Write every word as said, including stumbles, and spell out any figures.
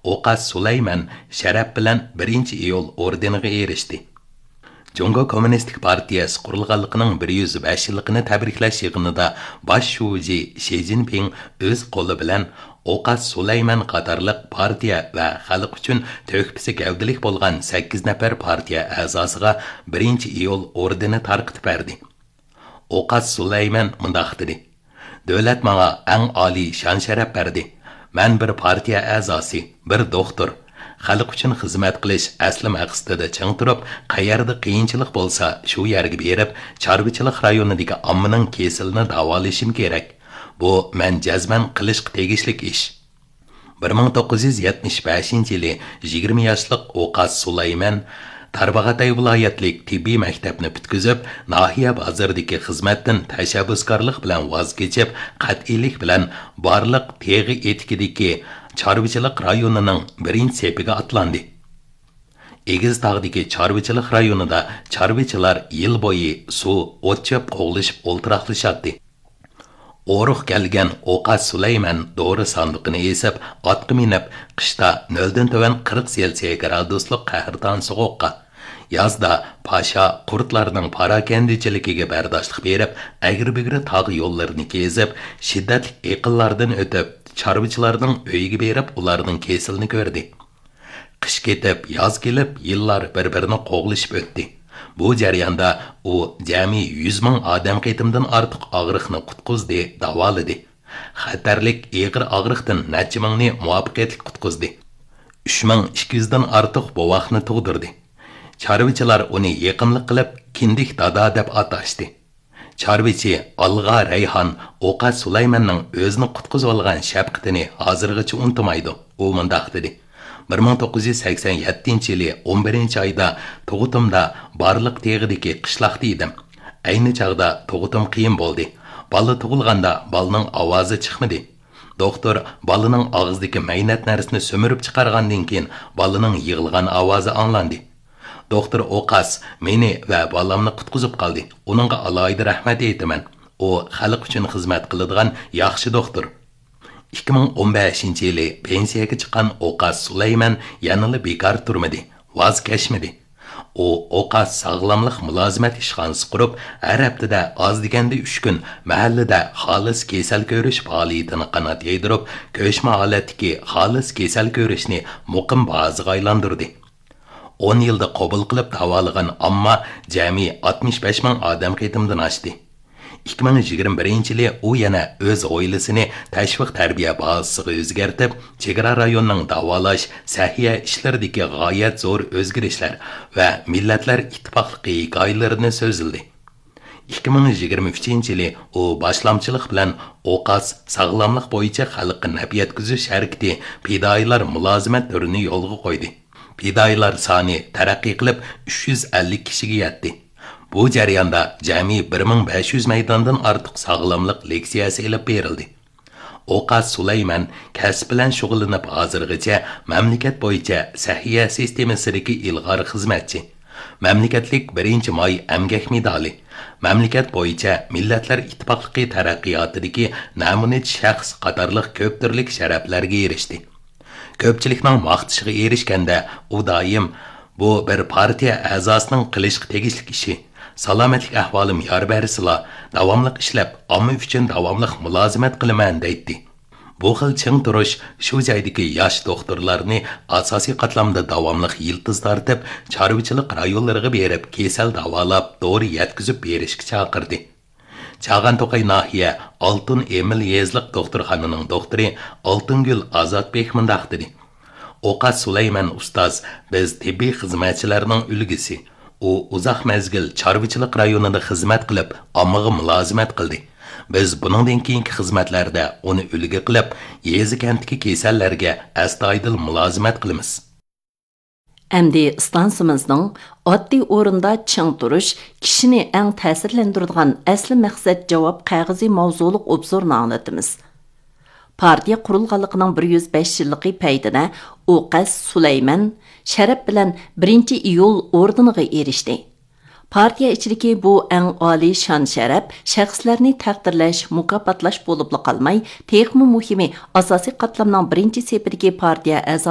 ئوقاس سۇلايمەن شەرەپ بىلەن بىرىنچى ئىيۇل ئوردېنىغا ئېرىشتى. جۇڭگو كوممۇنىستىك پارتىيەسى قۇرۇلغانلىقىنىڭ بىر يۈز بەش يىللىقىنى تەبرىكلەش يىغىنىدا باش شۇجى شى جىنپىڭ ئۆز قولى بىلەن ئوقاس سۇلايمەن قاتارلىق پارتىيە ۋە خەلق ئۈچۈن تۆھپىسى گەۋدىلىك بولغان سەككىز نەپەر پارتىيە ئەزاسىغا بىرىنچى ئىيۇل ئوردېنى تارقىتىپ بەردى. ئوقاس سۇلايمەن مۇنداق دېدى: «دۆلەت ماڭا ئەڭ ئالىي شان-شەرەپ بەردى. مەن بىر پارتىيە ئەزاسى، بىر دوختۇر. خەلق ئۈچۈن خىزمەت قىلىش ئەسلى مەقسىتىدە چىڭ تۇرۇپ، قەيەردە قىيىنچىلىق بولسا، شۇ يەرگە بېرىپ، چارۋىچىلىق رايونىدىكى ئاممىنىڭ كېسىلىنى داۋالىشىم كېرەك. بۇ مەن جەزمەن قىلىشقا تېگىشلىك ئىش.» بىر مىڭ توققۇز يۈز يەتمىش بەشىنچى يىلى يىگىرمە ياشلىق ئوقاس سۇلايمەن تارباغاتاي ۋىلايەتلىك تېببىي مەكتەپنى پۈتكۈزۈپ، ناھىيە بازىرىدىكى خىزمەتتىن تەشەببۇسكارلىق بىلەن ۋاز كېچىپ، قەتئىيلىك بىلەن بارلىق تېغى ئېتىكىدىكى چارۋىچىلىق رايونىنىڭ بىرىنچى سېپىگە ئاتلاندى. ئېگىز تاغدىكى چارۋىچىلىق رايونىدا چارۋىچىلار يىل بويى سۇ، ئوت-چۆپ قوغلىشىپ ئولتۇراقلىشاتتى. ئورۇق كەلگەن ئوقاس سۇلايمەن دورا ساندۇقىنى ئېسىپ، ئاتقا مىنىپ، قىشتا نۆلدىن تۆۋەن قىرىق سېلسىيە گرادۇسلۇق قەھرىتان سوغۇققا، يازدا پاشا قۇرتلارنىڭ پاراكەندىچىلىكىگە بەرداشلىق بېرىپ، ئەگرى-بۈگرى تاغ يوللىرىنى كېزىپ، شىددەتلىك ئېقىنلاردىن ئۆتۈپ، چارۋىچىلارنىڭ ئۆيىگە بېرىپ، ئۇلارنىڭ كېسىلىنى كۆردى. قىش كېتىپ، ياز كېلىپ، يىللار بىر-بىرىنى قوغلىشىپ ئۆتتى. بۇ جەرياندا ئۇ جەمئىي يۈز مىڭ ئادەم قېتىمدىن ئارتۇق ئاغرىقنى قۇتقۇزدى، داۋالىدى. خەتەرلىك ئېغىر ئاغرىقتىن نەچچە مىڭنى مۇۋەپپەقىيەتلىك قۇتقۇزدى. ئۈچ مىڭ ئىككى يۈزدىن ئارتۇق بوۋاقنى تۇغدۇردى. چارۋىچىلار ئۇنى يېقىملىق قىلىپ، كىندىك دادا دەپ ئاتاشتى. چارۋىچى ئالغا رەيھان ئوقاس سۇلايماننىڭ ئۆزىنى قۇتقۇزۇۋالغان شەپقىتىنى ھازىرغىچە ئۇنتۇمايدۇ. ئۇ مۇنداق دېدى: «بىر مىڭ توققۇز يۈز سەكسەن يەتتىنچى يىلى ئون بىرىنچى ئايدا تۇغۇتۇمدا بارلىق تېغىدىكى قىشلاقتا ئىدىم. ئەينى چاغدا تۇغۇتۇم قىيىن بولدى. بالا تۇغۇلغاندا بالىنىڭ ئاۋازى چىقمىدى. دوختۇر بالىنىڭ ئاغزىدىكى مەينەت نەرسىنى سۈمۈرۈپ چىقارغاندىن كېيىن، بالىنىڭ يىغلىغان ئاۋازى ئاڭلاندى. دوختۇر ئوقاس مېنى ۋە بالامنى قۇتقۇزۇپ قالدى. ئۇنىڭغا ئالاھىدە رەھمەت ئېيتىمەن. ئۇ خەلق ئۈچۈن خىزمەت قىلىدىغان ياخشى دوختۇر.» ئىككى مىڭ ئون بەشىنچى يىلى پېنسىيەگە چىققان ئوقاس سۇلايمەن يەنىلا بىكار تۇرمىدى، ۋاز كەچمىدى. ئۇ ئوقاس ساغلاملىق مۇلازىمەت ئىشخانىسى قۇرۇپ، ھەر ھەپتىدە ئاز دېگەندە ئۈچ كۈن مەھەللىدە خالىس كېسەل كۆرۈش پائالىيىتىنى قانات يايدۇرۇپ، كۆچمە ھالەتتىكى خالىس كېسەل كۆرۈشنى مۇقىم بازىغا ئايلاندۇردى. ئون يىلدا قوبۇل قىلىپ داۋالىغان ئامما جەمئىي ئاتمىش بەش مىڭ ئادەم قېتىمدىن ئاشتى. ئىككى مىڭ يىگىرمە بىرىنچى يىلى ئۇ يەنە ئۆز ھويلىسىنى تەشۋىق تەربىيە بازىسىغا ئۆزگەرتىپ، چېگرا رايونىنىڭ داۋالاش، سەھىيە ئىشلىرىدىكى غايەت زور ئۆزگىرىشلەر ۋە مىللەتلەر ئىتتىپاقلىقى ھېكايىلىرىنى سۆزلىدى. ئىككى مىڭ يىگىرمە ئۈچىنچى يىلى ئۇ باشلامچىلىق بىلەن ئوقاس ساغلاملىق بويىچە خەلققە نەپ يەتكۈزۈش ھەرىكىتى پىدائىيلار مۇلازىمەت تۈرىنى يولغا قويدى. پىدائىيلار سانى تەرەققىي قىلىپ، ئۈچ يۈز ئەللىك كىشىگە يەتتى. بۇ جەرياندا جەمئىي بىر مىڭ بەش يۈز مەيداندىن ئارتۇق ساغلاملىق لېكسىيەسى ئېلىپ بېرىلدى. ئوقاس سۇلايمەن كەسىپ بىلەن شۇغۇللىنىپ، ھازىرغىچە مەملىكەت بويىچە سەھىيە سىستېمىسىدىكى ئىلغار خىزمەتچى، مەملىكەتلىك بىرىنچى ماي ئەمگەك مېدالى، مەملىكەت بويىچە مىللەتلەر ئىتتىپاقلىقى تەرەققىياتىدىكى نەمۇنىچى شەخس قاتارلىق كۆپ تۈرلۈك شەرەپلەرگە ئېرىشتى. كۆپچىلىكنىڭ ماختىشىغا ئېرىشكەندە، ئۇ دائىم، «بۇ بىر پارتىيە ئەزاسىنىڭ قىلىشقا تېگىشلىك ئىشى، سالامەتلىك ئەھۋالىم يار بەرسىلا، داۋاملىق ئىشلەپ، ئامما ئۈچۈن داۋاملىق مۇلازىمەت قىلىمەن» دەيتتى. بۇ خىل چىڭ تۇرۇش شۇ جايدىكى ياش دوختۇرلارنى ئاساسىي قاتلامدا داۋاملىق يىلتىز تارتىپ، چارۋىچىلىق رايونلىرىغا بېرىپ، كېسەل داۋالاپ، دورا يەتكۈزۈپ بېرىشكە چاقىردى. چاغان توقاي ناھىيە ئالتۇن ئېمىل يېزىلىق دوختۇرخانىنىڭ دوختۇرى ئالتۇنگۈل ئازاتبېك مۇنداق دېدى: «ئوقاس سۇلايمەن ئۇستاز بىز تېببىي خىزمەتچىلەرنىڭ ئۈلگىسى. ئۇ ئۇزاق مەزگىل چارۋىچىلىق رايونىدا خىزمەت قىلىپ، ئاممىغا مۇلازىمەت قىلدى. بىز بۇنىڭدىن كېيىنكى خىزمەتلەردە ئۇنى ئۈلگە قىلىپ، يېزا-كەنتتىكى كېسەللەرگە ئەستايىدىل مۇلازىمەت قىلىمىز.» ئەمدى ئىستانسىمىزنىڭ «ئاددىي ئورۇندا چىڭ تۇرۇش كىشىنى ئەڭ تەسىرلەندۈرىدىغان ئەسلى مەقسەت جاۋاب قەغىزى» ماۋزۇلۇق ئوبزورنى ئاڭلىتىمىز. پارتىيە قۇرۇلغانلىقىنىڭ بىر يۈز بەش يىللىقى پەيتىدە ئوقاس سۇلايمەن شەرەپ بىلەن بىرىنچى ئىيۇل ئوردېنىغا ئېرىشتى. پارتىيە ئىچىدىكى بۇ ئەڭ ئالىي شان-شەرەپ شەخسلەرنى تەقدىرلەش، مۇكاپاتلاش بولۇپلا قالماي، تېخىمۇ مۇھىمى، ئاساسىي قاتلامنىڭ بىرىنچى سېپىدىكى پارتىيە ئەزالىرى